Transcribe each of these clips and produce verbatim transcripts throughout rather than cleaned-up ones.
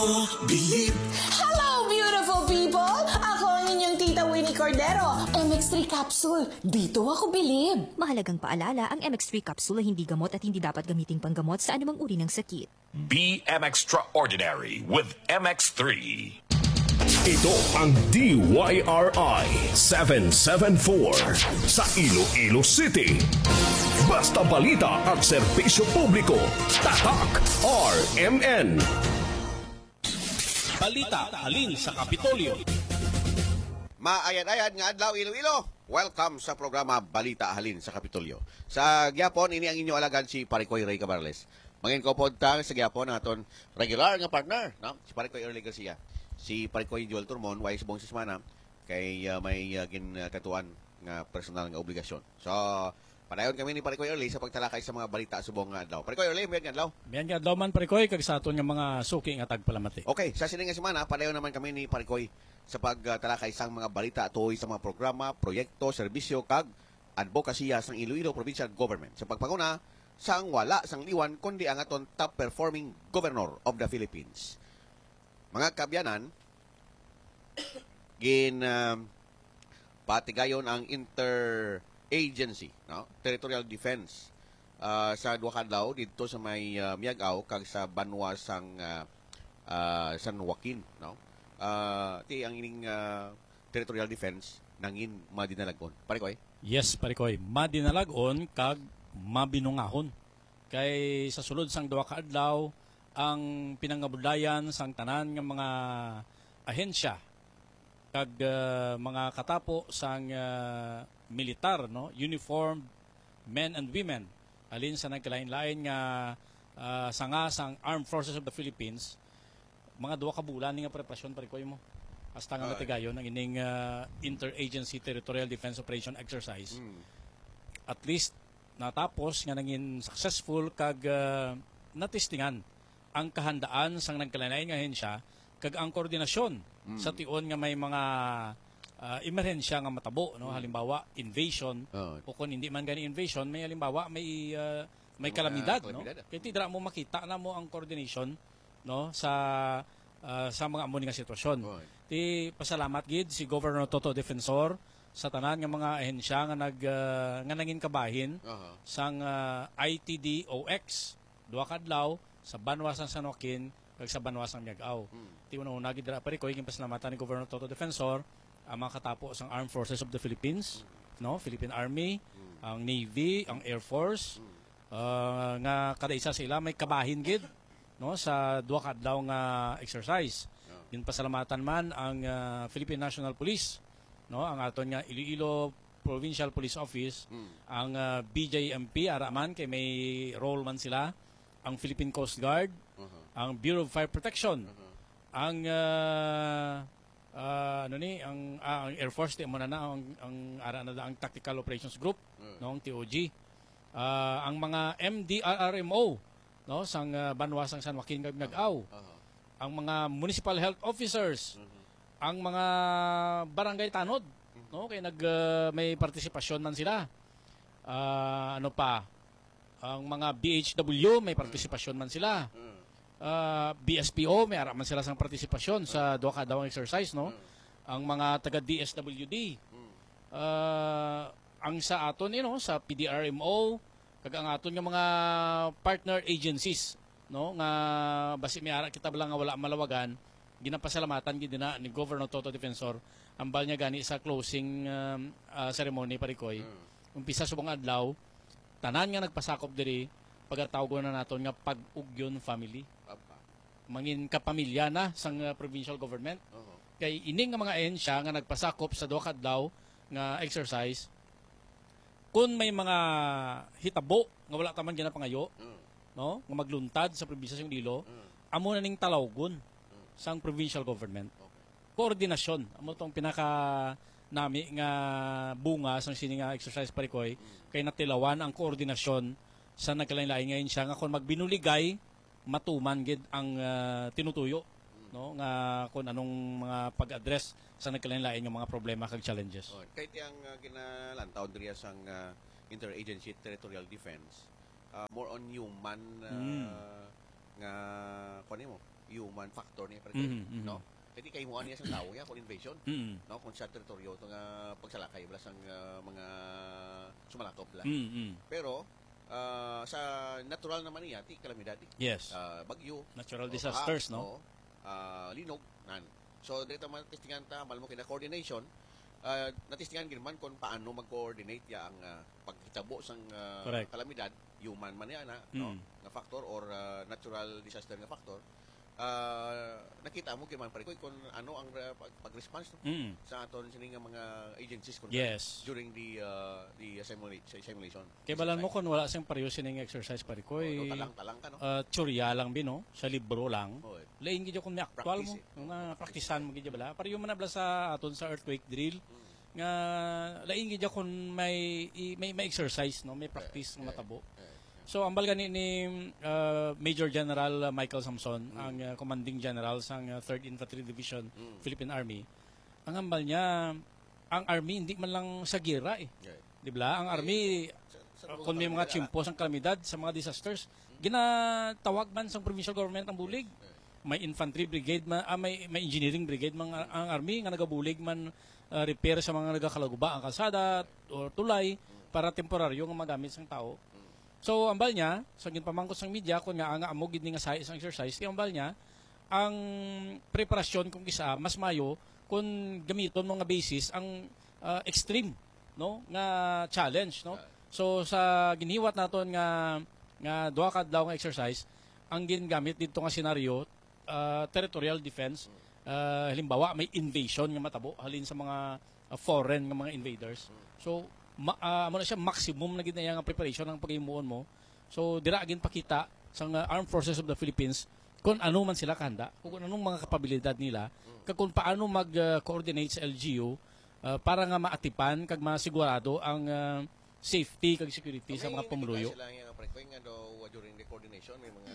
Believe. Hello, beautiful people! Ako ang inyong tita Winnie Cordero. M X three capsule. Dito ako bilib. Mahalagang paalala, ang M X three capsule ay hindi gamot at hindi dapat gamiting panggamot sa anumang uri ng sakit. Be M X Extraordinary with M X three. Ito ang D Y R I seven seven four sa Iloilo City. Basta balita at serbisyo publiko, Tatak R M N. Balita halin sa Kapitolyo. Maayad-ayad nga adlaw, Iloilo. Welcome sa programa Balita Halin sa Kapitolyo. Sa gyapon, ini ang inyo alagad, si Parikoy Ray Cabarles. Mangin ko pod ta sa gyapon ang aton regular nga partner, no? Si Parikoy Early Garcia. Si Parikoy Joel Turmon, way subong sa semana, kay, ah, may, ah, ginatuan nga personal nga obligasyon. So, padayon kami ni Parikoy Early sa pagtalakay sa mga balita subong nga adlaw. Parikoy Early, mayad nga adlaw. Mayad nga adlaw man, Parikoy, kag sa aton nga mga suki nga tagpalamati. Okay, sa sini nga semana, padayon naman kami ni Parikoy sa pagtalakay sang mga balita tuhoy sa mga programa, proyekto, serbisyo, kag adbokasiya sang Iloilo Provincial Government. Sa pagpanguna, sang wala sang liwan, kundi ang aton top performing governor of the Philippines. Mga kaabyanan, gin, ah, patigayon ang interagency, no? Territorial defense, ah, sa duha ka adlaw didto sa may, ah, Miag-ao kag sa banwa sang, ah, ah, San Joaquin, no? Ah, ti ang ining, ah, territorial defense nangin madinalag-on. Parikoy? Yes, Parikoy. Madinalag-on kag mabinungahon. Kay sa sulod sang duha ka adlaw, ang pinangabudlayan sang tanan nga mga ahensya kag, ah, mga katapo sang, ah, militar, no, uniformed men and women, halin sa nagkalain-lain nga, ah, sanga sang Armed Forces of the Philippines, mga duha ka bulan ni nga preparasyon, Parikoy, mo, hasta nga Ay. matigayon ang ining, ah, Interagency Territorial Defense Operation Exercise. Mm. At least, natapos nga nangin successful kag, ah, natistingan ang kahandaan sang nagkalain-lain nga ahensya kag ang koordinasyon Mm. sa tion nga may mga, ah, emerhensya nga matabo, no? Mm. Halimbawa, invasion, Oo. o kung hindi man gani invasion, may halimbawa, may, ah, may May mga kalamidad, no? kalamidad, ah. Kay ti dira mo makita na mo ang coordination, no, sa, ah, sa mga amo ni nga sitwasyon. Oo. Ti pasalamat gid si Governor Toto Defensor sa tanan nga mga ahensya nga nag, ah, nga nangin kabahin Aha. sang, ah, I T D O X, duha ka adlaw sa banwa sang San Joaquin kag sa banwa sang Miag-ao. Hmm. Ti una-una gid dira, Parikoy, ginpasalamatan ni Governor Toto Defensor ang mga katapo sang Armed Forces of the Philippines, Hmm. no, Philippine Army, Hmm. ang Navy, ang Air Force, Hmm. ah, nga kada isa sa ila may kabahin gid, no, sa duha ka adlaw nga exercise. Oh. Ginpasalamatan man ang, ah, Philippine National Police, no, ang aton nga Iloilo Provincial Police Office, Hmm. ang, ah, B J M P, ara man kay may role man sila, ang Philippine Coast Guard, Uh-huh. ang Bureau of Fire Protection, Uh-huh. ang, ah, ah, ano ni, ang, ah, ang Air Force, di mo na na, ang, ang ara na ang Tactical Operations Group, Mm. no, ang T O G. Ah, ang mga M D R R M O, no, sang, ah, banwa sang San Joaquin kag Miag-ao. Uh-huh. Ang mga municipal health officers, Mhm. ang mga barangay tanod, Mhm. no, kay nag, ah, may partisipasyon man sila. Ah, ano pa? Ang mga B H W, may Mm. partisipasyon man sila. Mm. Ah, B S P O, may ara man sila sang partisipasyon sa Mm. duha ka adlaw nga exercise, no? Mm. Ang mga taga D S W D, Mm. ah, ang sa aton, you know, sa P D R M O, kag ang aton nga mga partner agencies, no, nga basi may ara kita bala nga wala malawagan, ginapasalamatan gid na ni Governor Toto Defensor, ambal niya gani sa closing, um, ah, ceremony, Parikoy. Mm. Umpisa subong adlaw, tanan nga nagpasakop diri, pagatawgon na naton nga Pag-ugyon family. Papa. Mangin kapamilya na sang, uh, provincial government. Oho. Kay ini nga mga ahensya nga nagpasakop sa duha ka adlaw nga exercise, kun may mga hitabo nga wala ta man ginapangayo, Mm. no, nga magluntad sa probinsya sa Iloilo, Mm. amo na ning talawgon Mm. sang provincial government. Okay. Koordinasyon, amo tong pinaka nami nga bunga sang sini nga exercise, Parikoy, Mm. kay natilawan ang koordinasyon sa nagkalain-lain nga ahensya nga kon magbinuligay, matuman gid ang, ah, tinutuyo, Mm. no, nga kung anong mga pag-address sa nagkalain-lain nga mga problema kag challenges. Oh, kay ti ang, ah, ginalantaw diriya sang, ah, Interagency Territorial Defense, ah, more on human, ah, Mm. nga, kuwan mo, human factor niya, pare, Mhm, mhm. no? Kay di kahimuan niya sang tawo niya kung invasion, Mhm. no? Kung sa teritoryo, ito nga pagsalakay, wala sang, ah, mga sumalakop, bala. Mhm, mhm. Pero, ah, sa natural naman niya, ti kalamidad, eh. Yes. Ah, bagyo, Natural o disasters, baha, no? o, ah, linog, nan. So, dito man, testingan ta, mahal mo kina coordination, ah, natistingan gid man kung paano mag-coordinate ya ang, ah, paghitabo sang, ah, Correct. kalamidad, human man niya na, no, Mm. nga factor or, ah, natural disaster nga factor. Ah, nakita mo gid man, pare, kung ano ang, ah, pag-, pag-response, no, Mm. sa aton sini nga mga agencies, kung Yes. during the, ah, the simula-, sa simulation. Kay balan mo Exercise. Kung wala siyang pareho sining exercise, pare ko, Oo, eh, talang-talang ka, no? ah, teorya lang, bi, no? Sa libro lang. Oo, eh. Lain gid kung may actual Practice, mo. eh. Nga, praktisan mo gid bala. Pareho man na bala sa aton sa earthquake drill. Mm. Nga, lain gid kung may, i-, may, may exercise, no? May practice Eh, nga eh, matabo. eh, eh. So, ambal gani ni, ah, Major General, ah, Michael Samson, Mm. ang, ah, commanding general sang, ah, Third Infantry Division, Mm. Philippine Army. Ang ambal niya, ang army hindi man lang sa gira, eh. Yeah. Di ba? Ang army, Sa, sa uh, kung may mga nila. Tiyempo sang kalamidad, sa mga disasters, ginatawag man sang provincial government ang bulig. Yeah. May infantry brigade man, ah, may, may engineering brigade man ang, ang army nga nagabulig man, ah, repair sa mga nagakalaguba ang kalsada o tulay para temporaryo nga magamit sang tao. So, ambal niya, sa ginpamangkot sang media, kung nga nga amo gid ni nga sahi sang exercise, ti ambal niya, ang preparasyon kung kisa mas mayo kung gamiton mo nga basis ang, ah, extreme, no, nga challenge, no? Ah. So, sa giniwat naton nga, nga duha ka adlaw nga exercise, ang gingamit didto nga senaryo, ah, territorial defense. Ah, halimbawa, may invasion nga matabo halin sa mga, ah, foreign nga mga invaders. So, ma-, ah, amo na siya, maximum na gid na iya nga preparation ang paghimuon mo. So, dira ginpakita sang, ah, Armed Forces of the Philippines kung ano man sila kahanda, kung anong mga kapabilidad nila, kag kung paano mag, ah, coordinate sa L G U, ah, para nga maatipan kag masigurado ang, ah, safety kag security sa mga pumuluyo. May nakita sila nga, pre, nga daw, uh, during the coordination, may mga,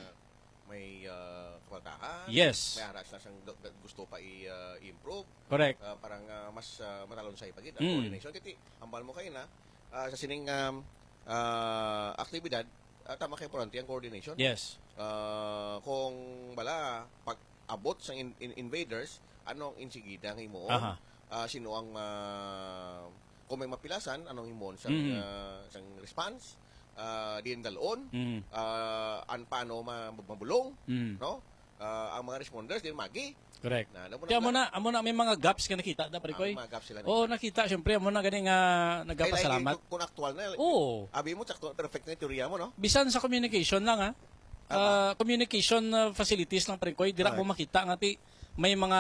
may, uh, kapaltahan, Yes. may ara sila sang gu-, gu-, gusto pa i-, uh, i-improve. Correct. Uh, para nga mas, uh, matalonsay pa gid ang Mm. coordination. Kaya ti, ambal mo kayo na, uh, sa sining, um, uh, aktibidad, uh, tama kay importante ang coordination. Yes. Uh, kung bala, pag abot sa in-, in-, invaders, ano ang insigida nga himuon? Aha. Ah, sino ang, ah, kung may mapilasan, anong himuon sang, Mm. ah, sang response? Ah, diin dalon? Mm. Ah, an paano ma-, mabulong? Mm. No? Ah, ang mga responders, din magi. Correct. Na, alam mo Kaya na amo na, amo na may mga gaps nga nakita na, pare Ang Koy. mga gaps sila Oo, nakita. nakita, syempre, amo na gani nga Kailangan nagapasalamat. kung, kung actual na, Oo. abi mo, sakto, perfect na yung teorya mo, no? Bisan sa communication lang, ha? Tama. Ah, communication, ah, facilities lang, pare Koy, dira mo Right. makita nga ti may mga,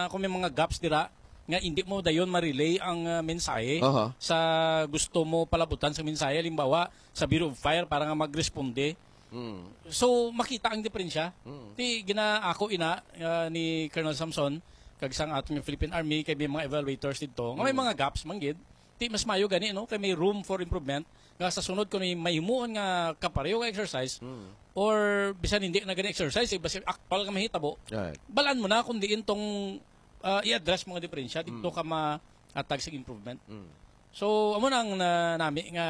kung may mga gaps dira, nga hindi mo dayon ma-relay ang, ah, mensahe Aha. sa gusto mo palabutan sa mensahe. Halimbawa, sa Bureau of Fire para nga magresponde. Mm. So, makita ang diferensya. Mm. Ti ginaako ina, ah, ni Colonel Samson, kag sang aton nga Philippine Army, kay may mga evaluators didto, nga may Mm. mga gaps man gid. Ti mas mayo gani, no? Kay may room for improvement. Nga sa sunod, kung may mahimuon nga kapareho nga exercise, Mm. or bisan hindi na gani exercise, eh, basta actual nga mahitabo, Right. balaan mo na kung diin tong, ah, i-address mga diferensya, dito Mm. ka ma-atag sa improvement. Mm. So, amo na ang na-, nami nga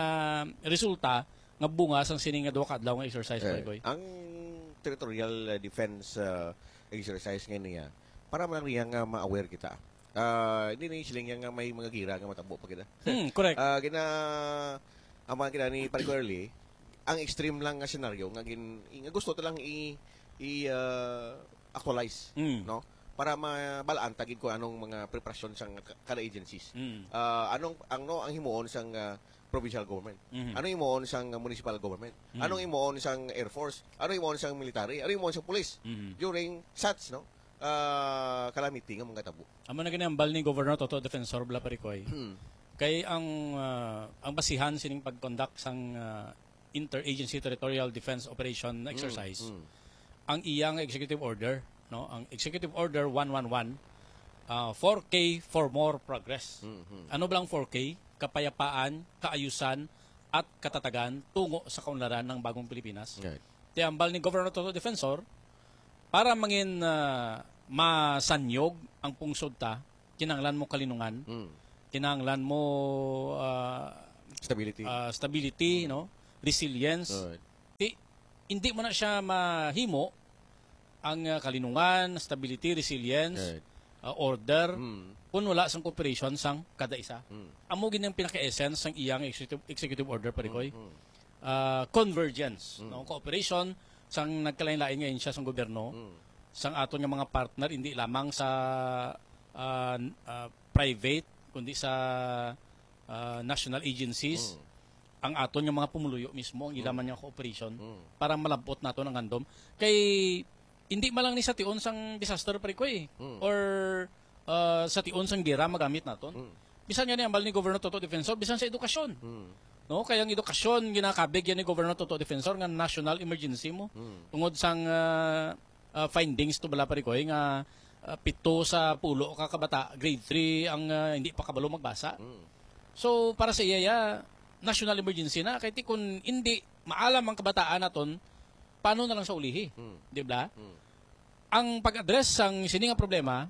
resulta nga bunga sang sini nga duha ka adlaw nga exercise, Eh, Pare Koy. ang territorial, uh, defense, uh, exercise nga niya, para man lang niya nga ma-aware kita. Ah, hindi na yung siling niya nga may mga gira nga matabo pa kita. Hmm, correct. Ah, gina-, ang mga gina ni Pare Koy Early, ang extreme lang nga senaryo nga gin-, nga gusto ta lang i-, i-, ah, actualize, Mm. no? Para mabalaan ta gid kung anong mga preparasyon sang ka-, kada agencies. Mm. Ah, anong, ang, no, ang himuon sang, ah, provincial government? Mhm. Anong himuon sang municipal government? Mm. Anong himuon sang Air Force? Anong himuon sang military? Anong himuon sang police? Mhm. During such, no, ah, calamity nga mga tabo? Amo na gani ang bal ni Governor Toto Defensor, bala, Pare Koy. Hmm. Kay ang, ah, ang basihan sining pag-conduct sang, ah, Interagency Territorial Defense Operation Mm, exercise, mm. ang iya nga executive order, no? Ang executive order one one one, ah, four K for more progress. Mm, mm. Ano ba ang four K? Kapayapaan, kaayusan, at katatagan tungo sa kaunlaran ng bagong Pilipinas. Right. Ti ambal ni Governor Toto Defensor, para mangin, ah, masanyog ang pungsod ta, kinahanglan mo kalinungan, Mm. kinahanglan mo, ah, Stability. ah, stability, Mm. no? Resilience. Alright. Ti, hindi mo na siya mahimo ang, ah, kalinungan, stability, resilience, Right. ah, order, Mm. kung wala sang cooperation sang kada isa. Mm. Amo gid ang pinaka-essence sang iyang executive, executive order, Parikoy. Mm, mm. Ah, convergence, Mm. no? Cooperation sang nagkalain-lain nga ahensya sang gobyerno, Mm. sang aton nga mga partner, hindi lamang sa, ah, n-, ah, private, kundi sa, ah, national agencies, Mm. ang aton nga mga pumuluyo mismo, ang ila Mm. man nga cooperation Mm. para malab-ot naton ang handom. Kay hindi man lang ni sa tion sang disaster, Parikoy, Mm. or, ah, sa tion sang gera magamit naton. Mm. Bisan nga ni ambal ni Governor Toto Defensor, bisan sa edukasyon. Mm. No, kay ang edukasyon ginakabig yan ni Governor Toto Defensor nga national emergency mo. Mm. Tungod sang, ah, ah, findings to bala, Parikoy, nga, ah, pito sa pulo ka kabata, grade three ang, ah, hindi pa kabalo magbasa. Mm. So, para sa iya, ya, national emergency na. Kay ti kun hindi maalam ang kabataan naton, paano na lang sa ulihi? Mm. Di ba? Mm. Ang pag-address sang sini nga problema,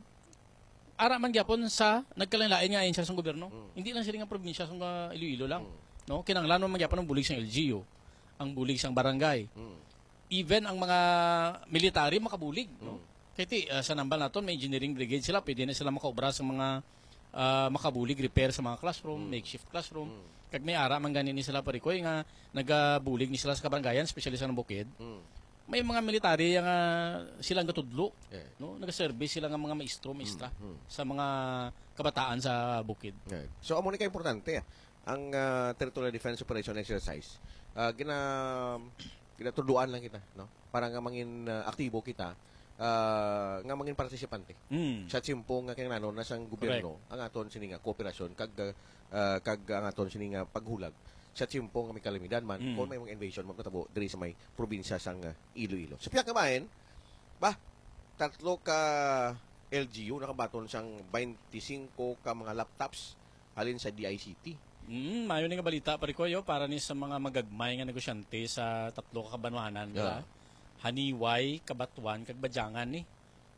ara man gyapon sa nagkalain-lain nga ahensya sang gobyerno. Mm. Hindi lang sini nga probinsya sang, ah, Iloilo lang. Mm. No? Kinahanglan man gyapon ang bulig sang L G U, ang bulig sang barangay. Mm. Even ang mga military makabulig, no? Mm. Kay ti, ah, sa nambal naton, may engineering brigade sila, pwede na sila makaobra sa mga, ah, makabulig, repair sa mga classroom, Mm. makeshift classroom. Mm. Kag may ara man gani ni sila, Parikoy, nga nagabulig ni sila sa kabarangayan, especially sa Bukid. Mm. May mga military nga sila ang gatudlo, Yeah. no? Nagaservice sila nga mga maestro, maestra Mm, mm. sa mga kabataan sa Bukid. Yeah. So, amo ni ka importante, ah, ang, ah, Territorial Defense Operation Exercise. Ah, gina-, ginatuduan lang kita, no? Para nga mangin, ah, aktibo kita, ah, nga mangin partisipante Mm. sa tiyempo nga kinahanglan na sang gobyerno Correct. ang aton sini nga kooperasyon kag, ah, kag ang aton sini nga paghulag sa tiyempo nga may kalamidad man, Mm. kung may mga invasion magkatabo diri sa may probinsya sang, ah, Iloilo. Sa pihak nga bahin, ba, tatlo ka L G U nakabaton sang twenty-five ka mga laptops halin sa D I C T. Mm, mayo ni nga balita, Parikoy, oh, para ni sa mga magagmay nga negosyante sa tatlo ka kabanwanan, Yeah. ba? Haniway, Cabatuan, kag Badiangan ni,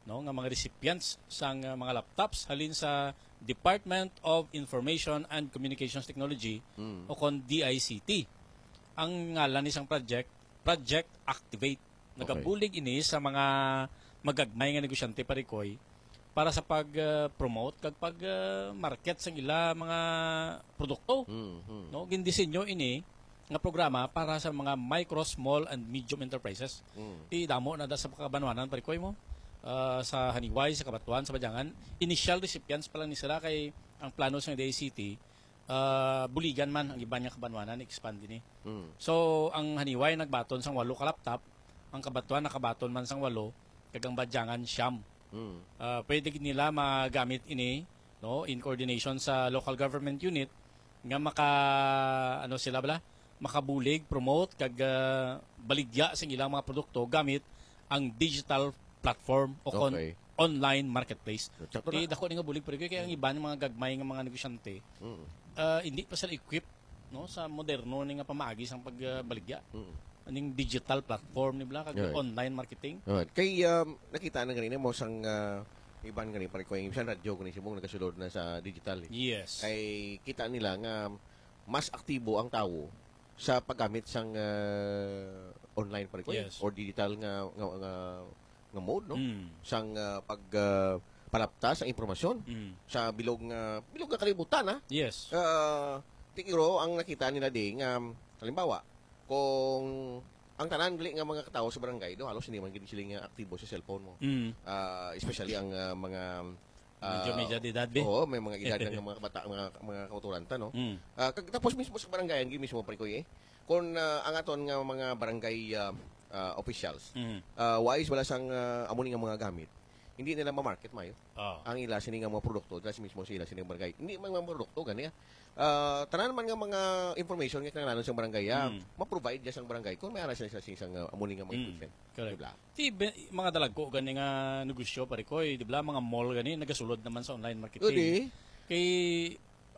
no, nga mga recipients sang, uh, mga laptops halin sa Department of Information and Communications Technology Mm. o kon D I C T. Ang ngalan ni sang project, Project Activate. Okay. Nagabulig ini sa mga magagmay nga negosyante, Parikoy, para sa pag, uh, promote kag pag, uh, market sang ila mga produkto. Mm, mm. No, gindisenyo ini nga programa para sa mga micro, small, and medium enterprises. Mm. Ti damo na da sa kabanwanan, Parikoy, mo, ah, sa Haniway, sa Cabatuan, sa Badiangan. Initial recipients pa lang ni sila kay ang plano sa D I C T, ah, buligan man ang iban nga kabanwanan, expand ini. Mm. So, ang Haniway nagbaton sang walo ka laptop, ang Cabatuan nakabaton man sang walo, kag ang Badiangan siyam. Mm. Ah, pwede gid nila magamit ini, no, in coordination sa local government unit nga maka, ano sila bala, makabulig, promote, kag, ah, baligya sa ilang mga produkto gamit ang digital platform o kon Okay. online marketplace. Sakto Di na. dako ni nga bulig, pero kaya ang iban nga mga gagmay nga mga negosyante, Mm. ah, hindi pa sila equipped, no, sa moderno ni nga pamaagi sang pagbaligya. Mm. Aning digital platform ni bala, kag Right. online marketing. Right. Kay, um, nakita na ganina mo sang, ah, iban gani, pare ko, yung isang radyo gani, si mong nagasulod na sa digital, eh. Yes. Kay kita nila nga mas aktibo ang tawo sa paggamit sang, ah, online, pare ko, eh, Yes. or digital nga, nga, nga, nga mode, no? Mm. Sang, ah, pag, ah, palapta sa impormasyon Mm. sa bilog nga, bilog nga kalibutan, ha? Yes. Ah, tiguro ang nakita nila di nga, halimbawa, kung ang tanan gali nga mga katawo sa barangay, do, halos hindi man gid sila nga aktibo sa cellphone mo. Mm. Ah, especially ang, ah, mga, Medyo ah, may edad-edad, be. Oo, may mga edad na nga mga bata, mga, mga kauturan ta, no? Mm. Ah, kag-, tapos mismo sa barangay, ang mismo, pare ko, eh. Kung, ah, ang aton nga mga barangay, ah, ah, officials, Mm. ah, wais wala sang, ah, amo ni nga mga gamit, hindi nila ma-market mayo. Ah. Ang ila sini nga mga produkto, dahil mismo sa ila sini nga barangay. Hindi man mga produkto, gani, ah. Ah, tanan man nga mga information nga kinahanglan sa barangay, ah, Mm. ma-provide niya sang barangay kung may ara siya sa isang, ah, amo ni nga mga Mm. equipment. Correct. Di ba? Ti be-, mga dalagko gani nga negosyo, pare ko, eh, di ba? Mga mall gani, nagasulod naman sa online marketing. Udi. Kay,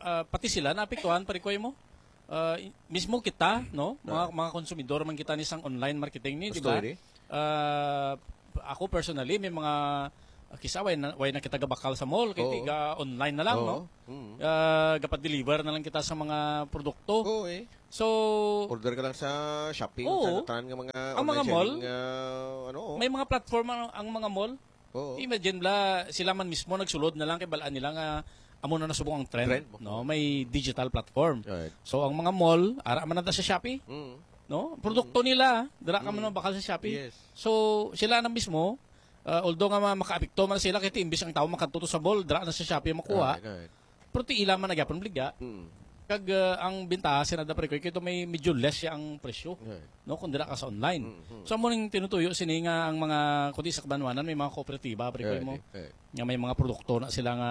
ah, pati sila naapektuhan, pare ko, eh, mo. Ah, i-, mismo kita, no? Mga, Ah. mga konsumidor man kita ni sang online marketing ni, di Gusto ba? ini? Ah, ako personally, may mga, Ah, kisa way na, way na kita gabakal sa mall, kay Oo. tiga online na lang, Oo. no? Mm. Ah, gapa-deliver na lang kita sa mga produkto. Oo, eh. So, Order ka lang sa Shopee, Oo. sa tanan nga mga Ang mga online mall, selling, ah, ano, oh. may mga platform ang, ang mga mall. Oo. Imagine bala, sila man mismo nagsulod na lang kay balaan nila nga amo na nasubong ang trend, Trend, no? oo. May digital platform. Right. So, ang mga mall, ara man na sa Shopee, Mm. no? Produkto nila, dira ka man Mm. mabakal sa Shopee. Yes. So, sila na mismo, ah, although nga ma-, makaapekto man sila, kay imbis ang tao makadto to sa mall, dira na sa Shopee makuha. Right, right. Pero ti ila man na gyapon baligya. Mm. Kag, ah, ang bintaha sina da, pre, kay kito may medyo less siya ang presyo, Right. no, kung dira ka sa online. Mm, mm. So, amo ning tinutuyo sini nga ang mga, kundi sa kabanwanan, may mga kooperatiba, pre, Right, mo, right. nga may mga produkto na sila nga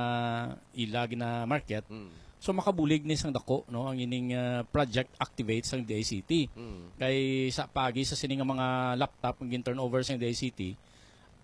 ila gina-market. Mm. So, makabulig ni sang dako, no, ang ining, ah, Project Activate sang D I C T. Mm. Kay sa pagi sa sini nga mga laptop ang gin-turnover sang D I C T,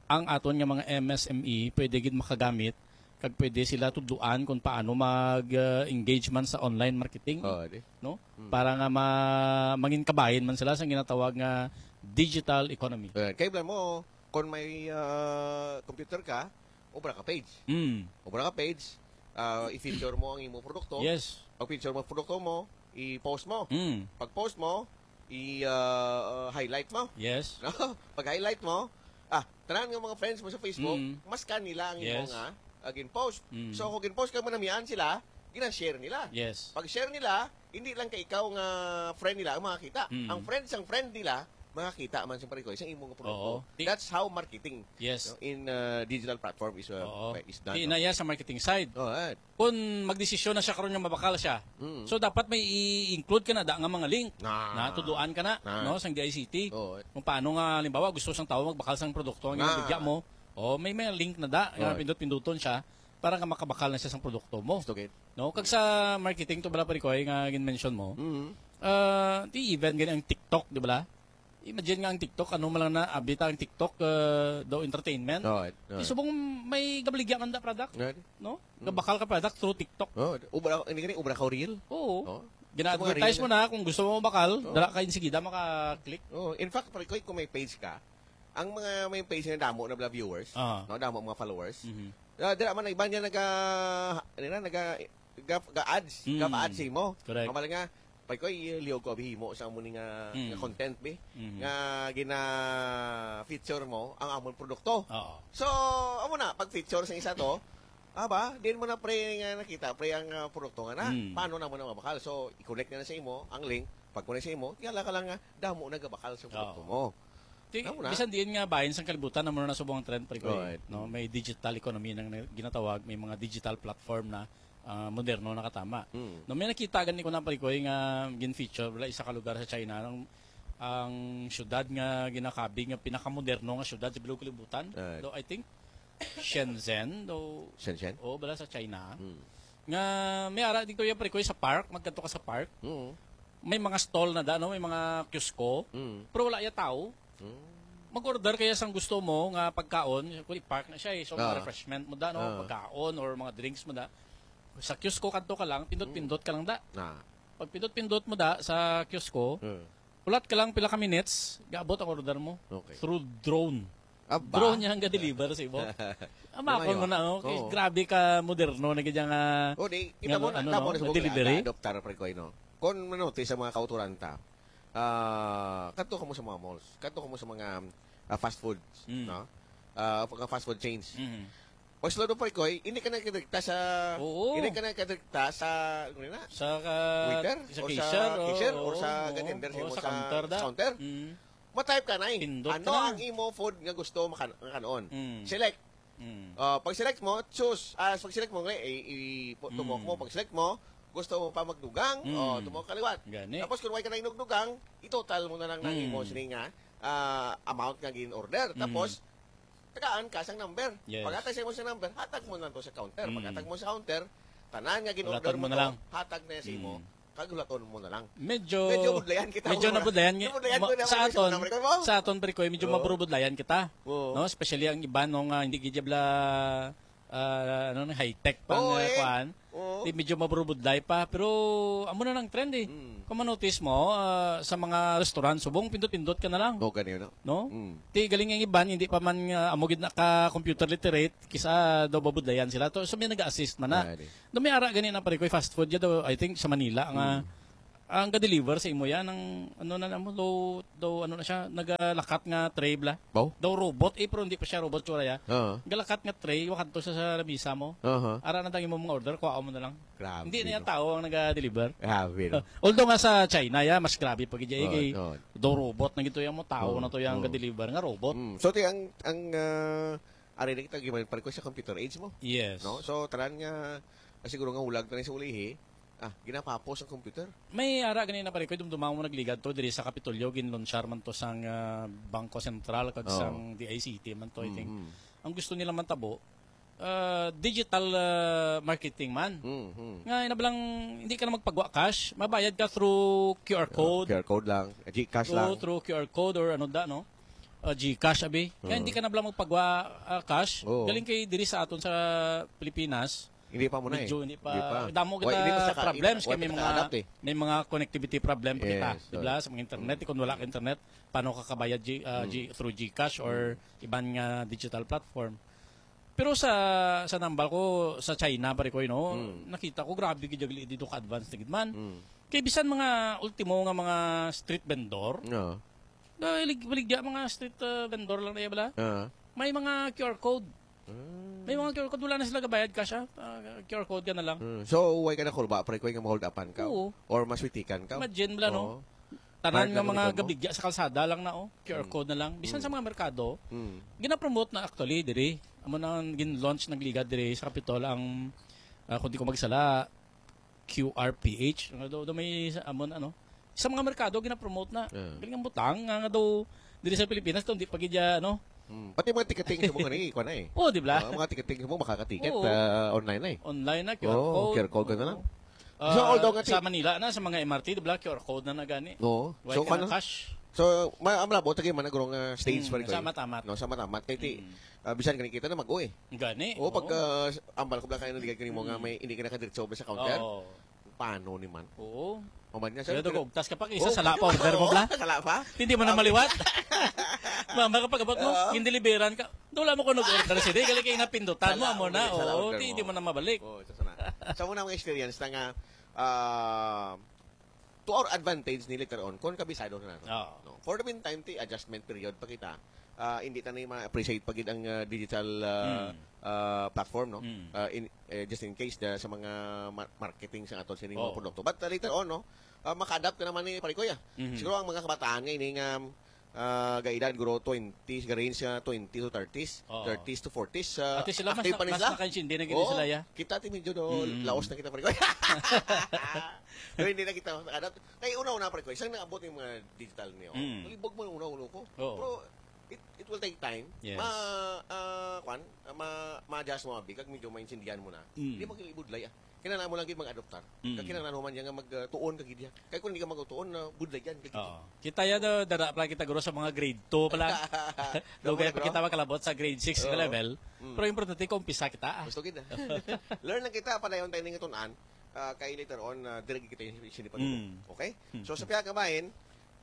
ang aton nga mga M S M E pwede gid makagamit kag pwede sila tudloan kung paano mag, ah, engage man sa online marketing, Oh, di. no? Hmm. Para nga ma-, mangin kabahin man sila sa ginatawag nga digital economy. Eh, kay mo, kung may, ah, computer ka, obra ka page. Mm. Obra ka page, ah, i-feature mo ang imo produkto. Yes. Pag-feature mo ang produkto mo, i-post mo. Mm. Pag-post mo, i, ah, ah, highlight mo. Yes. No? Pag-highlight mo, ah, tanan nga mga friends mo sa Facebook, Mm. mas kanila ang imo Yes. nga, ah, gin-post. Mm. So, kung gin-post ka mo, namian sila, gina-share nila. Yes. Pag-share nila, hindi lang kay ikaw nga friend nila ang makakita. Mm. Ang friend sang friend nila, makakita man sa, pare ko, isang imo nga produkto. Oo. Di- That's how marketing Yes. no, in, uh, digital platform is, uh, Oo. is done. Di no? na iya sa marketing side. Oh, right. Kung magdesisyon na siya karon nga mabakal siya, Mm. so dapat may i-include ka na da nga mga link Ah. na tudloan ka na Ah. no sang D I C T. Oo. Kung paano nga, halimbawa, gusto sang tawo magbakal sang produkto nga Ah. bigya mo, oh, may mga link na da nga Oo. pindot-pinduton siya para nga makabakal na siya sang produkto mo. Gusto gid. No, kag sa marketing to bala, pare ko, ay nga gin-mention mo. Mm. Ah, di even gani ang TikTok, di bala? Imagine nga ang TikTok, ano man lang na, abi ta ang TikTok, ah, daw entertainment. Oo, oo. Di subong may gabaligya man da product, Nga di. no? Mm. Gabakal ka product through TikTok. Oo, ubra, hindi gani, ubra ka reel. Oo. Oo. Gina-advertise Sa mga mo reel. na, kung gusto mo bakal, Oo. dala ka insigida maka-click. Oo. In fact, pare ko, kung may page ka, ang mga may page na damo na bala viewers, Ah. no, damo mga followers. Mhm. Ah, dira man ang iban nga naga, ano na, naga, ga, ga ads, Mm. ga ads mo. Correct. Mabal nga, pag ko, i-, liyog ko, abi, himo sa amo ni nga, Mm. nga content, bi, Mm. nga gina-feature mo ang amon produkto. Oo. So, amo na, pag-feature sa isa to, aba, din mo na, pre, nga nakita, pre, ang, ah, produkto nga na. Mm. Paano na mo na mabakal? So, i-connect na, na sa imo, ang link, pag-connect sa imo, kaya ka lang nga, damo na gabakal sa produkto Oo. mo. Ti-, Amo na. bisan diin nga bahin sang kalibutan, amo na nasubong ang trend, pre, ko, eh, Right. no? Mm. May digital economy nang na-, ginatawag, may mga digital platform na, ah, moderno na katama. Mm. No, may nakita gani ko na, pre, ko, eh, nga gin-feature, wala, isa ka lugar sa China, ang, ang syudad nga ginakabig nga pinakamoderno nga syudad sa bilog kalibutan. Right. Though, I think, Shenzhen, though, Shenzhen? Oo, bala sa China. Mm. Nga may ara dito yung, pre, ko, sa park, magkadto ka sa park. Mm. May mga stall na da, no? May mga kiosko. Mm. Pero wala ya tao. Mm. Mag-order kaya sang gusto mo nga pagkaon, kung i-park na siya, eh. So, mga Ah. refreshment mo da, no? Ah. Pagkaon or mga drinks mo da. Sa kiosko kadto ka lang, pindot-pindot ka lang da. Ah. Pag pindot-pindot mo da sa kiosko, Hmm. ulat ka lang pila ka minutes, gaabot ang order mo. Okay. Through drone. Aba. Drone niya ang ga-deliver sa imo. Ama Ano ko yun? na, oh. Kay Oo. grabe ka moderno na gid nga, Oh, di, kita nga mo, ano, tamo no? na sa Nga mga delivery? Adoptar, pre, ko, no? Kung ano, ti sa mga kauturan ta, ah, kadto ka mo sa mga malls, kadto ka mo sa mga, ah, fast foods, Mm. no? Ah, mga fast food chains. Mhm. Pag sulod mo, pre, ko, hindi ka na kadikta sa, Oo. hindi ka na kadikta sa, ano na? Sa ka-, Waiter? sa Or sa cashier, oo, cashier? Or oo, sa oo. Gatender, Oo, mo sa sa counter da. counter? Mm. Matype ka na eh. Pindot Ano ka na. ang imo food nga gusto makan-, makanon? Mm. Select. Mm. Ah, pag select mo, choose. Ah, pag select mo, eh, i-, i-, pu-, tumok Mm. mo. Pag select mo, gusto mo pa magdugang, Mm. o tumok ka liwat. Gani. Tapos kung wala ka na inugdugang, itotal mo na lang ng Mm. imo sini nga, ah, amount nga gin-order. Mm. Tapos, tagaan ka sang number. Yes. Paghatag sa imo sa number, hatag mo na to sa counter. Mm. Paghatag mo sa counter, tanan nga gin-order Ulaton mo mo na to, lang. hatag na sa imo. Mm. Kag ulaton mo na lang. Medyo, Medyo budlayan kita, medyo mga nabudlayan nga, Nabudlayan ko ma-, naman sa sa aton, number ko mo. sa aton, pre, ko, medyo Oo. maburubudlayan kita. Oo. No? Especially ang iba, no, nga hindi gid bala, ah, ano, high-tech pa Oo, nga eh. kuan. Oo. Oh. Di medyo maburubudlay pa, pero amo na nang trend eh. Mm. Kung ma-notice mo, ah, sa mga restaurant, subong pindot-pindot ka na lang. Oh, ganyan, no? No? Mm. Ti galing ang iban, hindi pa man nga amo gid naka-computer literate, kisa daw babudlayan sila. To, so may nag-assist man na. Ah, di. Do may ara gani na pare ko, fast food ya daw, I think sa Manila nga Mm. ang ga-deliver sa imo yan, ang ano na mo, daw, daw ano na siya, nagalakat nga tray bla. Baw? Daw robot eh, pero hindi pa siya robot tsura ya. Oo. Galakat nga tray, wakadto siya sa lamisa mo. Aha. Ara na dang imo mga order, kuha mo na lang. Grabe, Hindi na yung no? tao ang naga-deliver. Grabe, no? Although nga sa China, ya, mas grabe pa gid ya, Oo, eh, oo. daw robot na gito yung mo, tao Oo, na to yung oo. ga-deliver nga robot. Mm. So, ti, ang, ang, ah, ari na kita, giman, pare ko sa computer age mo. Yes. No? So, tanan nga, ah, siguro nga hulag na sa ulihi, ah, ginapapos ang computer. May ara ganina pare ko, dumduman mo nagligad to, diri sa Kapitolyo, ginlunsyar man to sang, ah, Bangko Sentral, kag Oo. sang D I C T man to, I think. Mm-hmm. Ang gusto nila man tabo, ah, digital, ah, marketing man. Mm-hmm. Nga, ina lang, hindi ka na magpagwa cash, mabayad ka through Q R Ah, code. Q R code lang, GCash Through, lang. through Q R code or ano da, no? Ah, GCash, abi. Kaya Oo. hindi ka na lang magpagwa, ah, cash. Oo. Galing kay diri sa aton sa Pilipinas. Hindi pa mo na eh. Medyo hindi pa. Hindi pa. Damo Wa-, kita hindi pa sa ka-, problems wa kay pa may kita mga, ka-adapt eh. may mga connectivity problem pa kita, Yes, di ba? oo. Sa mga internet, Mm. kung wala ka internet, paano ka kabayad G-, ah, Mm. G-, through GCash or Mm. iban nga digital platform? Pero sa, sa nambal ko, sa China, pare ko, no, Mm. nakita ko, grabe gid yung dito ka-advance na gid man. Mm. Kay bisan mga ultimo nga mga street vendor, Oo. na ilig-, baligya mga street, ah, vendor lang na iya, bala? Oo. May mga Q R code. Ah. May mga Q R code, wala na sila gabayad ka siya. Ah, Q R code ka na lang. Mm. So, why ka na kulba, pare ko, yung ma-hold upan ka? Oo. Or maswitikan ka? Imagine, bala, no? Oo. Tanan Part nga ng mga lugar mo? gabligya sa kalsada lang na, oh. Q R Mm. code na lang. Bisan Mm. sa mga merkado, Mm. ginapromote na actually diri. Amo na ang gin-launch, nagligad diri sa Kapitol ang, ah, kung di ko magsala, Q R P H. Nga daw, daw may sa, amo na, ano. Sa mga merkado, ginapromote na. Yeah. Galing ang butang, nga, nga daw, diri sa Pilipinas, daw, di pa gid ya, ano. Mm. Pati mga ticketing sa mga ni, ikuha na eh. Oh, di ba? Ah, mga ticketing mo, makakatiket, Oo. ah, online na eh. Online na, Q R Oo, code. Q R code ka na lang. Oo. Ah, So, although nga sa ti- Manila na, sa mga M R T, di ba, Q R code na na gani. Oo. Wala So, ka na kano? cash. So, ma-, ang malabo, tagay man, nagurong, ah, stage Mm, pa rin sa kayo. Matamat. No, sa Matamat. Kaya ti, Mm. ah, bisan gani kita na mag-uwi. Gani, Oo, oo. pag, ah, ambal ko bla kayo, naligat gani mo nga Mm. may, hindi ka nakadiretso ba sa counter? Oo. Paano ni man? Oo. Maman nga, Pero sir, dugog, tas kapag isa, Oo, sala pa, oo, order mo, bla? sala pa? Hindi mo na Ang maliwat. Mama, kapag abot mo, Oo. gindeliveran ka. Wala mo ko nag-order sila. Gali kay napindutan mo, Sala, amo na. wala, sala Oo, order ti, mo. di mo na mabalik. Oo, isa sana. Sa muna mga experience na nga, ah, to our advantage ni later on, kung kabisado na nato. Oo. No? For the meantime, ti adjustment period pa kita. Ah, hindi ta na ma-appreciate pa gid ang, ah, digital, ah, Mm. ah, platform, no? Mm. Ah, in, eh, just in case, da, sa mga ma-, marketing sa aton sining mga Oo. produkto. But, ah, later on, no? Ah, maka-adapt ka naman ni pare ko, ya. Mhm. Siguro ang mga kabataan nga ini nga, ah, gaedad, guro, twenty, ga-range nga twenty to thirties, Oo. thirties to forties, ah, At sila mas active na, pa ni mas sila. nakaintindi na gid Oo. sila, ya. Kita, ti, medyo do, Mm. laos na kita, pare ko. Pero hindi na kita maka-adapt. Kay una-una, pare ko, isang naabot yung mga digital niyo. Mm. Malibog mo yung una-una ko. Oo. Pero it, it will take time. Yes. Ma, ah, kwan, ah, ma, ma-adjust mo, abi, kag medyo maintindihan mo na. Mm. Hindi mo kilibudlay, ah. Kinahanglan mo lang gid mag-adoptar. Mm. Kag kinahanglan mo man yan nga mag, ah, tuon ka gid yan. Kay kung hindi ka magtuon, na budlay yan ka gid. Oo. Kita yan, ah, dara pala kita, guro, sa mga grade two pala. Dugay Damo na, pa bro. kita makalabot sa grade six nga Oo. level. Mm. Pero importante, kung umpisa kita, ah. Gusto gid, ah. Learn lang kita, padayon tayo ning itunan. Ah, kay later on, ah, dire gid kita yung sinipan. Mm. Okay? Mm. So, sa pihak nga bahin,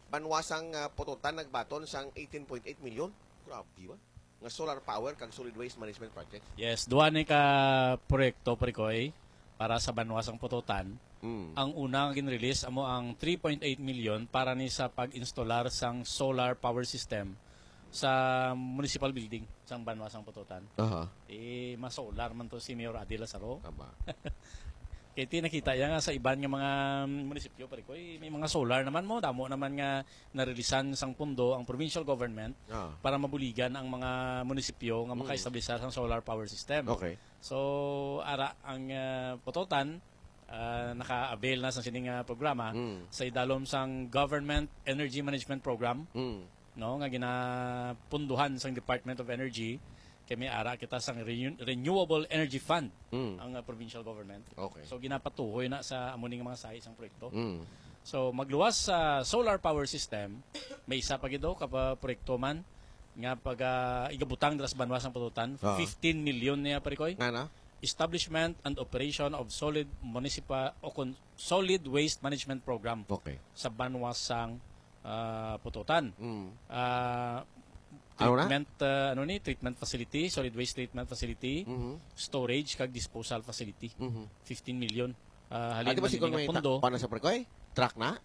Banwa sang, ah, Pototan nagbaton sang eighteen point eight million. Grabe ba? Nga solar power kag solid waste management project. Yes, duha ni ka proyekto, Parikoy, para sa Banwa sang Pototan. Mm. Ang una nga gin-release amo ang three point eight million para ni sa pag-instalar sang solar power system sa municipal building sang Banwa sang Pototan. Aha. Eh, ma-solar man to si Mayor Adi Lazaro. Tama. Kay ti nakita ya nga sa iban nga mga munisipyo, Parikoy, may mga solar naman mo, damo naman nga narilisan sang pundo ang provincial government Ah. para mabuligan ang mga munisipyo nga Mm. makaestablisar sang solar power system. Okay. So, ara ang, ah, Pototan, ah, naka-avail na sa sining, ah, programa Mm. sa idalom sang Government Energy Management Program, Mm. no, nga ginapunduhan sang Department of Energy, kay may ara kita sang renew-, Renewable Energy Fund Mm. ang, ah, provincial government. Okay. So, ginapatuhoy na sa amo ning mga sahi sang proyekto. Mm. So, magluwas sa solar power system, may isa pa gid daw ka pa proyekto man nga pag, ah, igabutang dira sa Banwa sang Pototan, Ah. fifteen million niya, Parikoy. Nga na? establishment and operation of solid municipal o kon-, solid waste management program Okay. sa banwa sang, ah, Pututan. Mm. Ah, Ano na? treatment, ah, ano ni, treatment facility, solid waste treatment facility, Mhm. storage kag disposal facility. Mhm. Fifteen million. Ah, halin Adi ba man si ini nga Colmay ta-, pondo. Kuha na sa Prekoy? Truck na?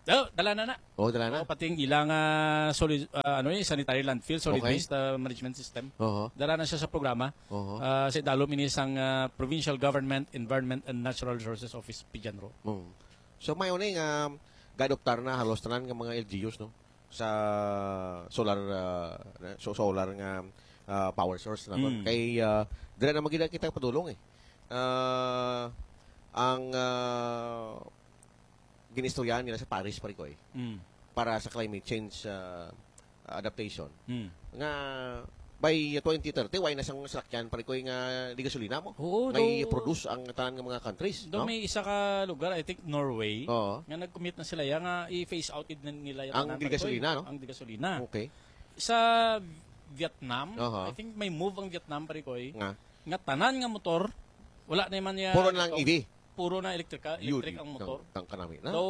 Oh, dala na na. Oh, dala na? Oh, pati ang ilang, ah, solid, ah, ano ni, sanitary landfill, solid Okay. waste, ah, management system. Oho. Dala na siya sa programa. Oho. Ah, sa idalom ini sang, ah, Provincial Government, Environment and Natural Resources Office, PGENRO. Mm. So, may una nga gaadoptar na halos tanan nga mga L G Us, no? Sa solar, ah, na-, so, solar nga, ah, power source na to. Mm. Kay, ah, dira na magina kita padulong eh. Ah, ang, ah, ginistoryahan nila sa Paris, pare ko eh, Mm. para sa climate change, ah, adaptation. Mm. Nga by twenty thirty, wala na sang salakyan, pare ko, nga di gasolina mo. Oo, May do-, produce ang tanan nga mga countries, do no? may isa ka lugar, I think Norway, Oo. nga nag-commit na sila ya nga i-phase out gid nila ya Ang tanan, di pare ko, gasolina, no? ang di gasolina. Okay. Sa Vietnam, Aha. I think may move ang Vietnam, pare ko, eh, Nga? nga tanan nga motor, wala na man ya Puro na lang ito. E V. Puro na elektrika, Yun, electric ang motor. Ang, ang kanami na. So,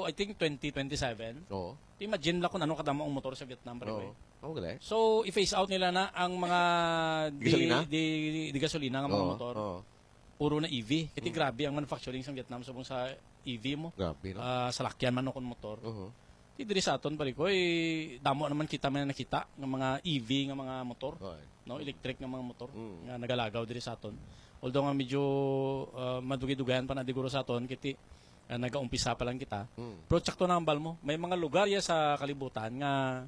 I think twenty twenty-seven. Oo. Imagine lang kung ano kadamo ang motor sa Vietnam, pare ko, Oo. eh. Ang galing. So, i-phase out nila na ang mga di, Gasolina? di, di gasolina nga mga Oo, motor. oo. Puro na E V. Kaya Mm. grabe ang manufacturing sa Vietnam subong sa E V mo. Grabe, no? Ah, salakyan man o kon motor. Uh-huh. Di diri sa aton, pare ko, eh, damo naman kita may nakita nga mga E V nga mga motor, Oy. no? Electric nga mga motor Mm. nga nagalagaw diri sa aton. Although nga medyo, ah, madugay-dugayan pa na diguro sa aton, kiti, ah, nagaumpisa pa lang kita. Mm. Pero tsakto na ang bal mo. May mga lugar ya sa kalibutan nga